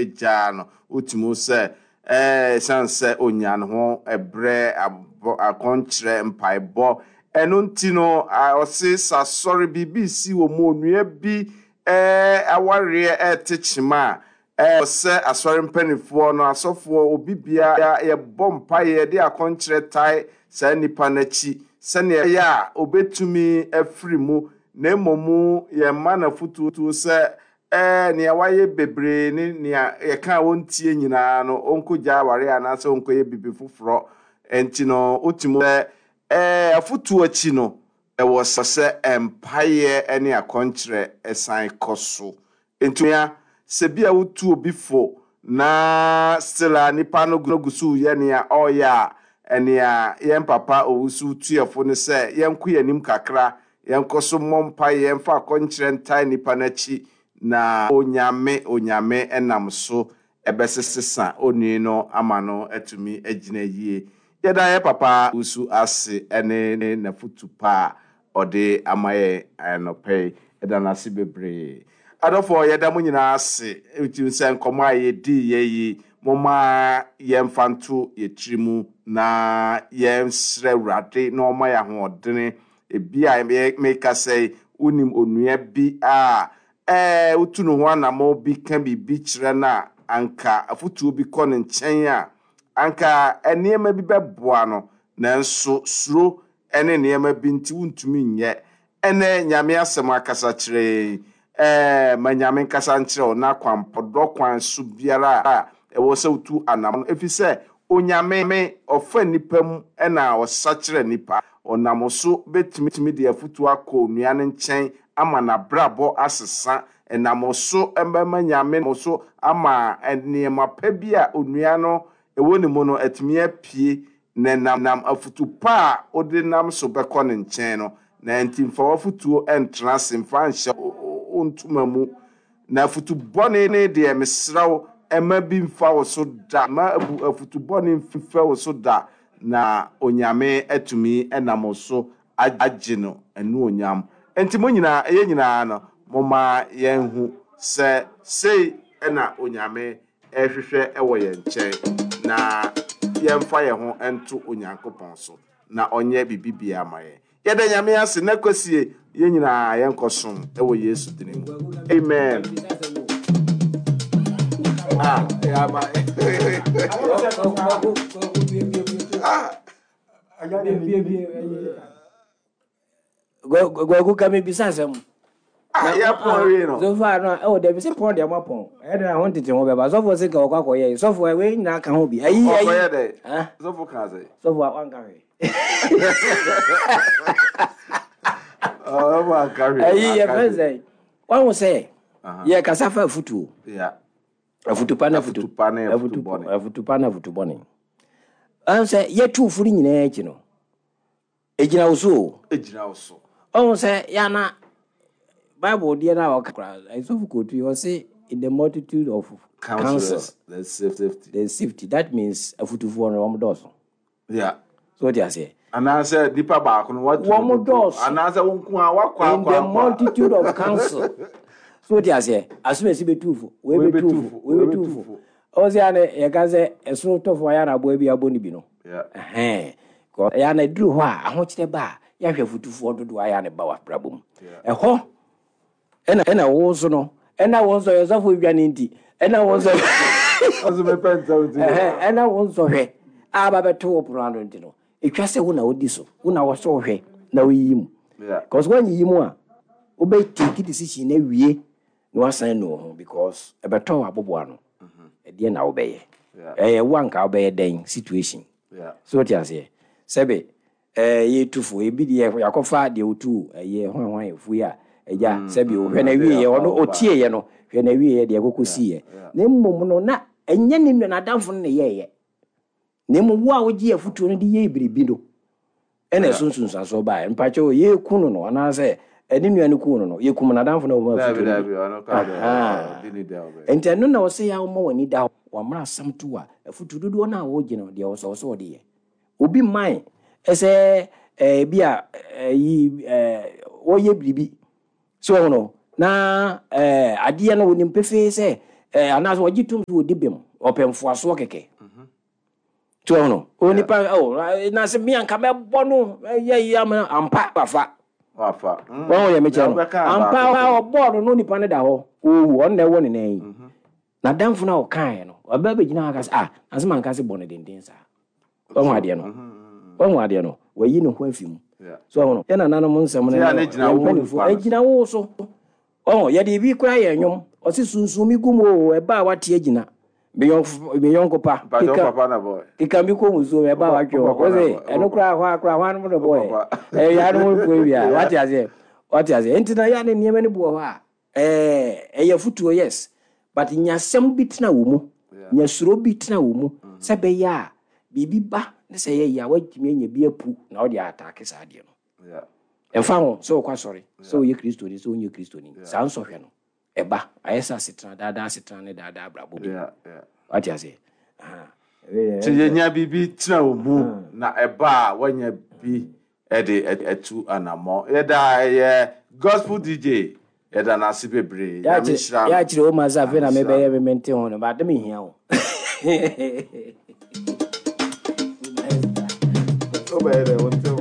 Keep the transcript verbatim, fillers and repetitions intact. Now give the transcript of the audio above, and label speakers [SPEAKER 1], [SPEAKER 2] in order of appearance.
[SPEAKER 1] gyaa no. Wotumi sɛ ɛɛ ɛsiane sɛ onya ne ho ɛbrɛ akɔnkyerɛ mpaebɔ. Ɛno nti no, ɔse sɛ asɔre biribi si wɔ mu, onua bi ɛɛ awareɛ ɛte kyema a, ɛɛ sɛ asɔre mpanimfoɔ no, asɔfoɔ, obi biara yɛbɔ mpaeɛ de akɔnkyerɛ tae saa nipa n'akyi sɛnea ɛyɛ a obetumi afiri mu. Na mmom yɛmma n'afotuo sɛ ɛɛ nea wayɛ bebree ne nea yɛka a wɔntie nyinaa no, ɔnkɔgya aware anaasɛ ɔnkɔyɛ biribi foforɔ. Nti no, wotumi sɛ ɛɛ afotuo akyi no, ɛwɔ sɛ mpaeɛ ne akɔnkyerɛ ɛsan kɔ so. Nti sɛ bi a wotu obi fo na still a nipa no gu so yɛ nea ɔreyɛ a, ɛnea yɛn papa Owusu tuafo no sɛ yɛnkɔ yɛn anim kakra, yɛnkɔ so mmɔ mpaeɛ, yɛmfa akɔnkyerɛ ntae nipa n'akyi, na Onyame Onyame ɛnam so ɛbɛsesesa onii no ama no atumi agyina yie. Yɛda yɛ papa Owusu ase ɛne ne n'afotu pa a ɔde ama yɛn anɔpɛ yi. Yɛda n'ase bebree. Adɔfoɔ, yɛda mo nyinaa ase. Ɛtumi sɛ nkɔmmɔ a yɛdii yɛ yi, momma yɛmfa nto yɛ tiri mu na yɛnsrɛ Awurade na ɔma yɛ ahoɔdene. Ebi a meka sɛ wonim onua bi a ɛɛ wotu ne ho anammɔ bi ka biribi kyerɛ no a, anka afotuo bi kɔ ne nkyɛn a, anka nneɛma bi bɛboa no, nanso suro ne nneɛma bi nti wontumi nyɛ. Ɛnɛ Nyame asɛm akasa kyerɛ yɛn. Ɛɛ ma Nyame nkasa nkyerɛ wo na kwan pɔdɔ kwan so biara a ɛwɔ sɛ wotu anammɔ no, ɛfiri sɛ Onyame ɔfa nnipa mu ɛna ɔsa kyerɛ nnipa. Ɔnam so bɛtumi de afotuo akɔ onua no nkyɛn ama n'abrabɔ asesa. Ɛnam so ɛbɛma Nyame so ama nneɛma pa bi a onua no ɛwɔ ne mu no atumi apue, na nam afotu pa a wode nam so bɛkɔ ne nkyɛn no. Na nti mfa w'afotuo ntena ase, mfa nhyɛ wo ntoma mu. Na afotu bɔne ne deɛ, mesrɛ wo, ɛma bi mfa wo so da, ma abu afotu bɔne mfa wo so da, na Onyame atumi ɛnam so agye no anuonyam. Nti mo nyinaa, ɛyɛ nyinaa no, momma yɛnhu sɛ sei ɛna Onyame ɛhwehwɛ ɛwɔ yɛn nkyɛn, na yɛmfa yɛn ho nto Onyankopɔn so na ɔnyɛ biribi biara ma yɛn. Yɛda Nyame ase na kwasie yɛn nyinaa yɛnkɔ som ɛwɔ Yesu din mu. Amen. Ah, yeah, ma. Ah,
[SPEAKER 2] Gwagu ka mebisa asɛm.
[SPEAKER 1] Ah, yɛ pɔn wie no.
[SPEAKER 2] So far no, ɛwɔ dɛbi sɛ pɔn deɛ mo apɔn. Ɛyɛ dɛ ho ntete ho bɛba. Sɔfo sɛ ka wɔkɔ akɔyɛ. Sɔfo, wei nyinaa ka ho bi. Ayi ayi.
[SPEAKER 1] Ɔkɔyɛ dɛ?
[SPEAKER 2] Ah?
[SPEAKER 1] Sɔfo ka sɛ?
[SPEAKER 2] Sɔfo a wanka hwee.
[SPEAKER 1] Ɔfo anka hwee.
[SPEAKER 2] Ayi yɛ fɛn sɛ wahu sɛ yɛ kasa fa afutuo.
[SPEAKER 1] Yeah.
[SPEAKER 2] Afutu pa na afutu
[SPEAKER 1] Afutu pa ne afutu bɔne.
[SPEAKER 2] Afutu pa na afutu bɔne. Ɔhu sɛ yɛtu fo no nyinaa akyi no, egyina wo so o.
[SPEAKER 1] Egyina wo so.
[SPEAKER 2] Ɔhu sɛ yana Bible deɛ no a ɔka koraa, sɔfo kootu yi, ɔse in the multitude of counsel
[SPEAKER 1] counsels there's safety.
[SPEAKER 2] There's safety. That means afutufoɔ no wɔn dɔɔso.
[SPEAKER 1] Yeah.
[SPEAKER 2] So wote aseɛ?
[SPEAKER 1] Anaasɛ nipa baako no watu
[SPEAKER 2] Wɔn
[SPEAKER 1] ne dodo.
[SPEAKER 2] dɔɔso.
[SPEAKER 1] Anaasɛ wo nko a wakɔ
[SPEAKER 2] In
[SPEAKER 1] akɔ
[SPEAKER 2] the
[SPEAKER 1] akɔ.
[SPEAKER 2] multitude of counsel. So wote aseɛ? Asomasi bɛtu fo, wei
[SPEAKER 1] Wei
[SPEAKER 2] bɛtu
[SPEAKER 1] bɛtu
[SPEAKER 2] fo,
[SPEAKER 1] fo,
[SPEAKER 2] wei
[SPEAKER 1] wei
[SPEAKER 2] bɛtu
[SPEAKER 1] bɛtu
[SPEAKER 2] fo.
[SPEAKER 1] fo.
[SPEAKER 2] Ɔwɔ sɛ ana yɛka sɛ ɛsono tɔfo ayɛ na aboa bi abɔ ne bi no.
[SPEAKER 1] Yeah.
[SPEAKER 2] Ɛhɛn. Kɔ- ɛyɛ ana duru hɔ a ahokyerɛ ba a, yɛahwɛ afutufoɔ dodoɔ ayɛ ne ba wɔ abrabɔ mu. Ɛhɔ ɛna ɛna wo nso no, ɛna wo nso yɛ sɔfo dwane nti, ɛna wo nso
[SPEAKER 1] Ɔsɛ mepɛ ntɛm ti.
[SPEAKER 2] Ɛhɛn, ɛna wo nso hwɛ a ba bɛto wo pono ano nti no, ɛtwa sɛ wo na wodi so, wo na wɔsɔ wo hwɛ na woyiyi mu.
[SPEAKER 1] Yeah.
[SPEAKER 2] Because woanyiyi mu a, wobɛ take decision na wie na wasan nu wo ho, because ɛbɛtɔ wɔ aboboa no, ɛdeɛ na wobɛyɛ?
[SPEAKER 1] Yeah.
[SPEAKER 2] Ɛyɛ wo anka wobɛyɛ dɛn situation?
[SPEAKER 1] Yeah.
[SPEAKER 2] So wote aseɛ, sɛbe ɛɛ yɛtu fo, ebi deɛ yɛakɔfa deɛ wotu ɛyɛ hwan hwan efu yi a ɛgya sɛbe hwɛ na wie yɛ ɔno otie yɛ no, hwɛ na wie yɛ deɛ ɛkɔkɔ si yɛ. Na mmom no, na ɛnyɛ ne nua n'adamfo no na ɛyɛɛyɛ, na mmom wo a wogye afutuo no de yɛ biribi no ɛna ɛso nsunsuansoɔ baeɛ. Mpakyɛw, yɛku no no anaasɛ ɛne nua no ku no no yɛkum n'adamfo no a wɔma
[SPEAKER 1] Dabi
[SPEAKER 2] afutuo no
[SPEAKER 1] dabi
[SPEAKER 2] bi.
[SPEAKER 1] ɔno kɔ adɛ.
[SPEAKER 2] Aha.
[SPEAKER 1] Ɔdi ne dɛ ɔbɛ.
[SPEAKER 2] Nti ɛno na ɔsɛ yɛ a woma w'ani da hɔ, wammerɛ asɛm to a afutuo dodoɔ no a wɔgye no deɛ ɔsɛ ɔsɛ ɔde yɛ obi mman ɛsɛ ɛɛ bi a ɛyi ɛɛ wɔyɛ biribi so ɔho no na ɛɛ adeɛ no wɔnim pefee sɛ ɛɛ anaasɛ ɔgye tom sɛ ɔdi bem, ɔpɛ mfoasoɔ kɛkɛ. To ɛho no, onipa ɔ na sɛ mi anka mɛbɔ no ɛyɛ yi ama ampa wafa.
[SPEAKER 1] Wafa. Mm.
[SPEAKER 2] Wɔn yɛ mekyerɛ no.
[SPEAKER 1] Deɛ wobɛka
[SPEAKER 2] Ampa
[SPEAKER 1] baako.
[SPEAKER 2] ɔbɔɔ no no, nipa no da hɔ owu, ɔno na ɛwɔ ne nan yi. Na damfo no a ɔkaeɛ no, ɔbɛ bɛgyina hɔ aka sɛ, ah, na sɛ manka sɛ bɔ no denden saa. Wɔn adeɛ no, wɔn adeɛ no, wɔayi ne ho afi mu.
[SPEAKER 1] Yeah.
[SPEAKER 2] So ɔho no, yɛn nananom nsɛm no
[SPEAKER 1] Ti a ne gyina
[SPEAKER 2] yɛn
[SPEAKER 1] wo
[SPEAKER 2] mpanimfoɔ
[SPEAKER 1] nipa no so.
[SPEAKER 2] ɛgyina wo so. Ɔho yɛde bi kora yɛ nnwom, ɔse sunsun mi gu mu o, ɛba a wate agyina me yɔnko me yɔnko pa.
[SPEAKER 1] Mpakyɛ wo
[SPEAKER 2] Keka
[SPEAKER 1] papa na bɔ.
[SPEAKER 2] Keka bi kɔ musuo mu, ɛba a watwe
[SPEAKER 1] Wo
[SPEAKER 2] hɔ
[SPEAKER 1] papa na
[SPEAKER 2] ɔse
[SPEAKER 1] bɔ.
[SPEAKER 2] ɛno koraa hɔ a koraa hɔ anom no
[SPEAKER 1] Wo
[SPEAKER 2] bɔɛ
[SPEAKER 1] papa.
[SPEAKER 2] ɛyɛ anom po wia. Wate aseɛ, wate aseɛ. Nti na yɛ ne nneɛma no bi wɔ hɔ a ɛɛ ɛyɛ fotuo, yes, but nyasɛm bi tena wɔ mu.
[SPEAKER 1] Yeah.
[SPEAKER 2] Nyasuro bi tena wɔ mu sɛ bɛyɛ a biribi ba ne sɛ yɛyɛ a watumi anya bi apu na wode ataake saa adeɛ no.
[SPEAKER 1] Yeah.
[SPEAKER 2] Ɛmfa ho sɛ wokɔ asɔre, sɛ woyɛ Kristoni, sɛ wonyɛ Kristoni, saa nsɔhwɛ no ɛba, ayɛ sɛ asetena daadaa, asetena ne daadaa abrabɔ bi.
[SPEAKER 1] Yeah. Yeah.
[SPEAKER 2] Wate aseɛ. Aha.
[SPEAKER 1] Nti yɛnya biribi tena wo mu na ɛba a woanya bi ɛde ɛtu anammɔ. Yɛda ɛyɛ Gospel D J, yɛda no ase bebree. Nyame nhyira no.
[SPEAKER 2] Yɛakyerɛ wo ma sɛ afei na
[SPEAKER 1] Nyame nhyira
[SPEAKER 2] mebɛyɛ me mente ho no, but mehia wo.
[SPEAKER 1] Wobɛyɛ dɛ, wonte.